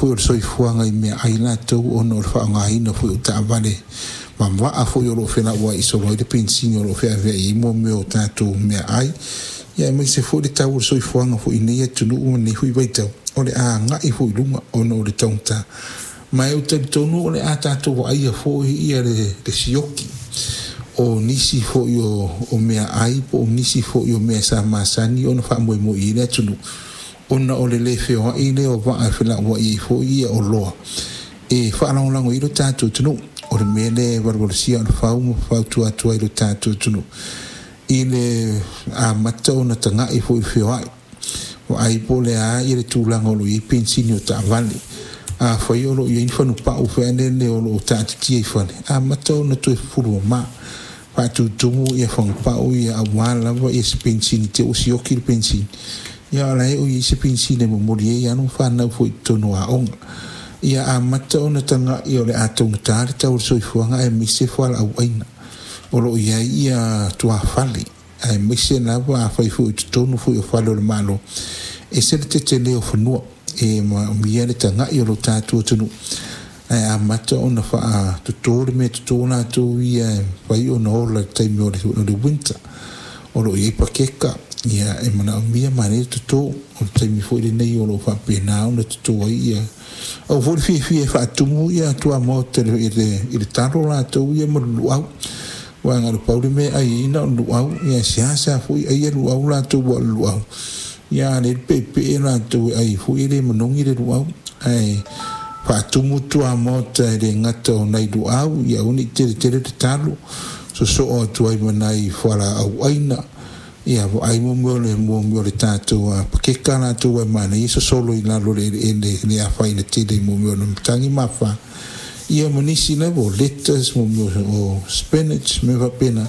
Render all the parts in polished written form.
Foi o le soifuaga i meaai latou ona o le faaaogaina foi o taavale ma vaa foi o loo felauai solo ai le penisini o loo feaveai ai mo mea o tatou meaai, ia aemaise foi le tau o le soifuaga foi i nei atunuu ma lenei foi vaitau o le a agai foi i luga ona o le taugata. Ma ou te talitonu o le a tatou vaaia foi ia le sioki o nisi foi o meaai po o nisi foi o mea sa masani ona faamoemoe i ai le atunuu ona o le le feoai lea o vaa e felauai ai foi ia oloa e faalagolago i lo tatou atunuu. O le mea lea e valuvalusia aa o le fau ma fautua atu ai i lo tatou atunuu i le amata ona tagai foi i le feoai, vaai po o le a le tulaga o lo o i ai penisini o taavale. Afai o lo o i ai ni fanupau foi lele o lo o taatitia i fale, amata ona toe fufulu mama, faatutumu ia fanupau ia aua lava se penisini i te i ua sioki le penisini, ia a o la e ua i ai se penisini e momoli ai alo ma fanau foi i totonu o aoga. Ia amata ona tagai o le a taugata le tau o le soifuaga aemaise fualaau aina o lo o i ai ia tuafale, aemaise lava afai foi o totonu foi o fale o le Malo, e ese le tetele o fanua e manaomia le tagai o lo tatou atunuu ae amata ona faatoto le meatoto latou ia e mafai ona ola i le taimi o le winter. O lo o i ai pakeka e manaomia manaia le toto. O le taimi foi lenei o lo o faapena ona toto ai ia. Aua foi le fiafia e faatumu ia tuamaota i le talo latou ia ma le luau, aua na o le pau le mea e ai ai na o le luau. Ia e seasea foi aia luau latou aua o le luau, ia a le peepee latou e ai foi e le manogi le luau, ae faatumu tuamaota e le gata o nai luau, ia aua ne i tele tele le talo, sosoo atu ai ma nai fualaau aina, ia vaai mo mea o le tatou pakeka latou e manaia sosolo i lalo o le eleele e le afaina tele i mea o matagi ma afa, ia ma nisi lava o lettuce, mo mea o spinach, mea faapena,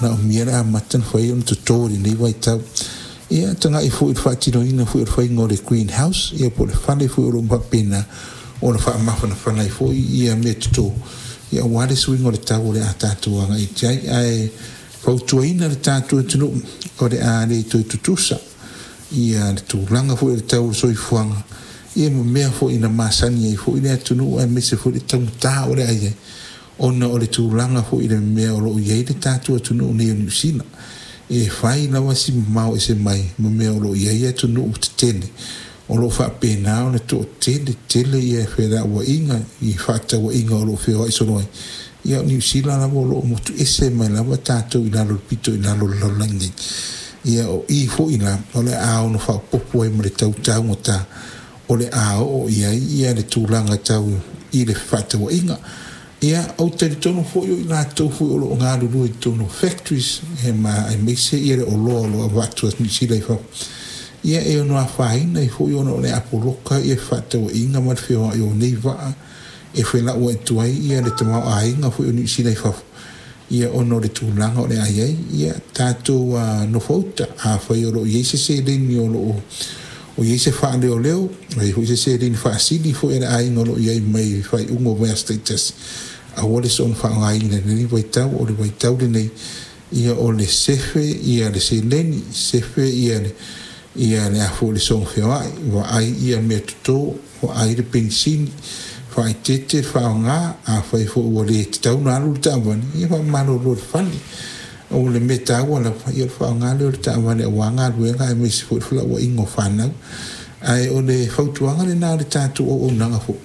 manaomia le amata ona fai ona toto i lenei vaitau. Ia tagai foi i le faatinoina foi o le faiga o le green house, ia po o le fale foi o lo o faapena ona faamafanafana ai foi ia meatoto, ia aua le suiga o le tau o le a tatou agai atu ai. Ae fautuaina le tatou atunuu o le a le toe tutusa ia le tulaga foi o le tau o le soifuaga ia ma mea foi na masani ai foi le atunuu, aemaise foi le taugata o le a i ai ona o le tulaga foi i le mea o lo o i ai le tatou atunuu nei o Niu Sila. E fai lava si mamao ese mai ma mea o lo o i ai atunuu tetele o lo o faapena ona toatele tele ia felauaiga i fefaatauaiga o lo o feoai solo ai. Ia o Niu Sila lava o lo o motu ese mai lava tatou i lalo i le pito i lalo o le lalolagi nei. Ia o i foi la o le a ono faaopoopo ai ma le tau taugata o le a oo i ai ia le tulaga tau i le fefaatauaiga. Ia ou te talitonu foi o i latou foi o lo o galulue i totonu o factories e ma aemaise ia le oloa o lo o avatu a Niu Sila i fafo, ia e ono afaina ai foi ona o le a poloka ia fefaatauaiga ma le feoai o nei vaa e felauai atu ai ia le tamaoaiga foi o Niu Sila i fafo, ia ona o le tulaga o le a i ai. Ia tatou nofouta, afai o lo o i ai se seleni o lo o i ai se faaleoleo, o i ai foi se seleni faasili foi a le aiga o lo o i ai mai faaiuga o vaiaso taitasi, aua le soona faaaogaina i lenei vaitau. O le vaitau lenei, ia o le sefe ia le seleni, sefe ia le ia le a foi le soona feoai, vaai ia meatoto, vaai le penisini, faaeteete le faaaoga. Afai foi ua le tatau ona alu le taavale, ia faamalolo i le fale. O le mea taua lava, ia o le faaaoga lea o le taavale aua galuega aemaise foi le felauaiga o fanau. Ae o le fautuaga lena o le tatou auaunaga foi,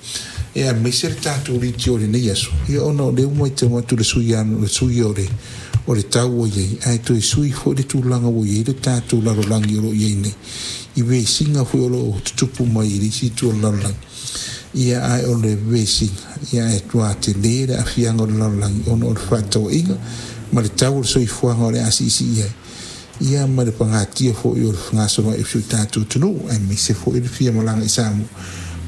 e aemaise le tatou leitio i lenei aso, ia ona o lea ua matau atu i le sui o le tau ua i ai, ae toe sui foi le tulaga ua i ai le tatou lalolagi o lo o i ai nei i vesiga foi o lo o tutupu mai i le isi itu o le lalolagi. Ia ae o le vesiga, ia e matua tele le aafiaga o le lalolagi ona o le fefaatauaiga ma le tau o le soifuaga o le a siisii ai, ia ma le pagatia foi o le fegasoloai o si o tatou atunuu, aemaise foi le fia malaga i Samoa.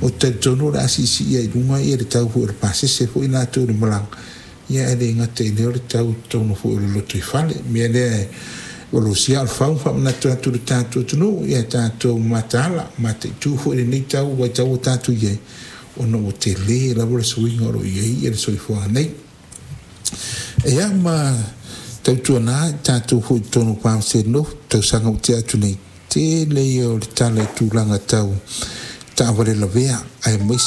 Ou te talitonu o le a siisii ai i luga ia le tau foi o le pasese foi latou i le malaga, ia ae le gata i lea o le tau i totonu foi o le lotoifale. O le mea lea e valuvalusia aa o le fau ma faamanatu atu i le tatou atunuu, ia tatou mataala, mataitu foi lenei tau vaitau ua tatou i ai, ona ua tele lava le suiga o lo o i ai ia le soifuaga nei. Ia ma tautuana tatou foi i totonu o Palmerston North, tausaga ua tea atu nei, tele ia o le tala i tulaga tau taavale lavea, aemaise